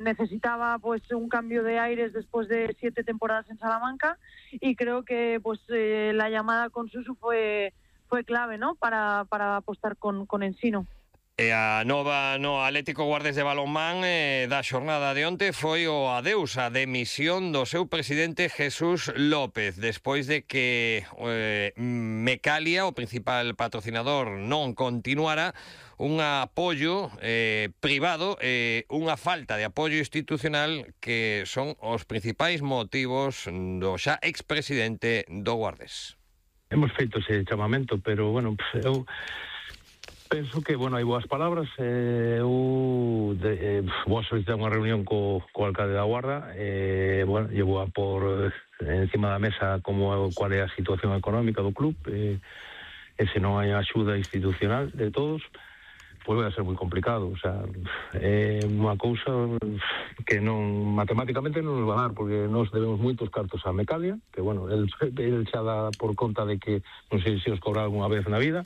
necesitaba pues un cambio de aires después de 7 temporadas en Salamanca, y creo que pues la llamada con Suso fue clave, ¿no? para apostar con Ensino. A nova no Atlético Guardes de balonmán da xornada de onte foi o adeus, a demisión do seu presidente Jesús López, despois de que Mecalia, o principal patrocinador, non continuara. Un apoio privado, unha falta de apoio institucional, que son os principais motivos do xa expresidente do Guardes. Hemos feito ese chamamento, pero, bueno, eu penso que, bueno, hai boas palabras. Vou solicitar unha reunión co alcalde da Guarda. Bueno, llevo a por encima da mesa cual é a situación económica do club. Se non hai axuda institucional de todos, pois vai a ser moi complicado. O sea, é unha cousa que non, matemáticamente non nos va a dar, porque nos debemos moitos cartos a Mecalia, que, bueno, el xa dá por conta de que non sei se os cobra algunha vez na vida.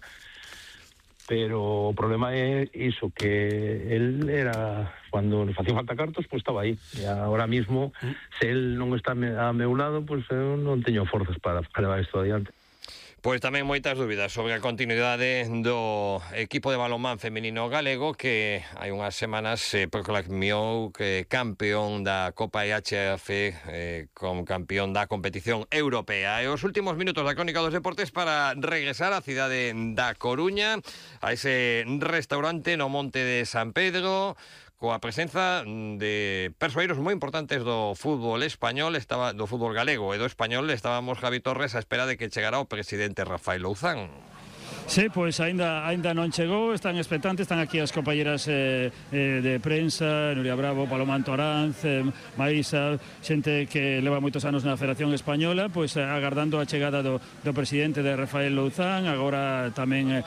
Pero o problema é iso, que él era, cando nos facía falta cartos, pois estaba aí. E agora mismo, se él non está a meu lado, pois eu non teño forzas para levar isto adiante. Pois tamén moitas dúbidas sobre a continuidade do equipo de balonmán feminino galego, que hai unhas semanas se proclamou que campeón da Copa IHF, como campeón da competición europea. E os últimos minutos da crónica dos deportes para regresar á cidade da Coruña, a ese restaurante no Monte de San Pedro, coa presenza de persoeiros moi importantes do fútbol español, do fútbol galego e do español. Estábamos Javi Torres á espera de que chegara o presidente Rafael Louzán. Sí, pois aínda non chegou, están expectantes, están aquí as compañeras de prensa, Nuria Bravo, Paloma Antoranz, Maísa, xente que leva moitos anos na Federación Española, pois agardando a chegada do presidente de Rafael Louzán. Agora tamén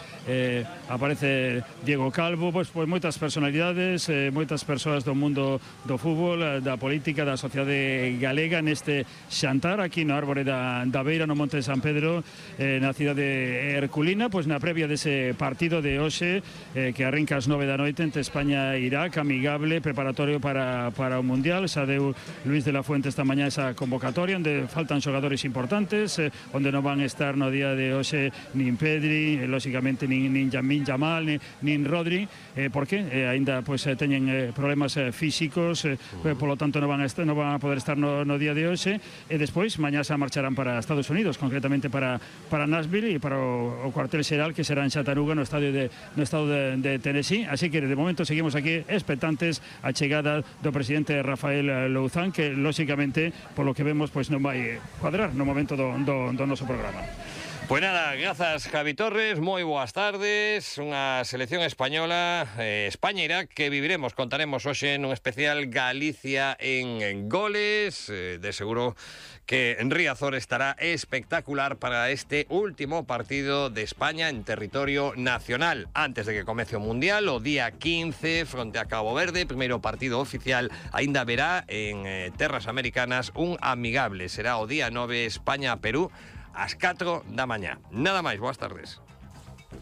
aparece Diego Calvo, pois moitas personalidades, moitas persoas do mundo do fútbol, da política, da sociedade galega, neste xantar aquí no Árbore da Beira, no Monte de San Pedro, na cidade herculina, pois na previa dese partido de hoxe, que arranca ás 9 da noite entre España e Irak, amigable, preparatorio para o Mundial. Xa deu Luis de la Fuente esta mañá esa convocatoria, onde faltan xogadores importantes, onde non van estar no día de hoxe nin Pedri, lóxicamente nin Yamin Yamal, nin Rodri, porque aínda pois teñen problemas físicos, polo tanto non van a poder estar no día de hoxe. E despois mañá xa marcharán para Estados Unidos, concretamente para Nashville e para o cuartel xeral, que será en Chattanooga, no estado de Tennessee. Así que de momento seguimos aquí expectantes a chegada do presidente Rafael Louzán, que lóxicamente, polo que vemos, pois non vai cuadrar no momento do noso programa. Pois nada, grazas Javi Torres, moi boas tardes. Unha selección española, España-Irak, que viviremos, contaremos hoxe nun especial Galicia en goles. De seguro que Riazor estará espectacular para este último partido de España en territorio nacional, antes de que comece o Mundial, o día 15, fronte a Cabo Verde. Primeiro partido oficial aínda verá en terras americanas, un amigable. Será o día 9, España-Perú, ás 4 da mañá. Nada máis, boas tardes.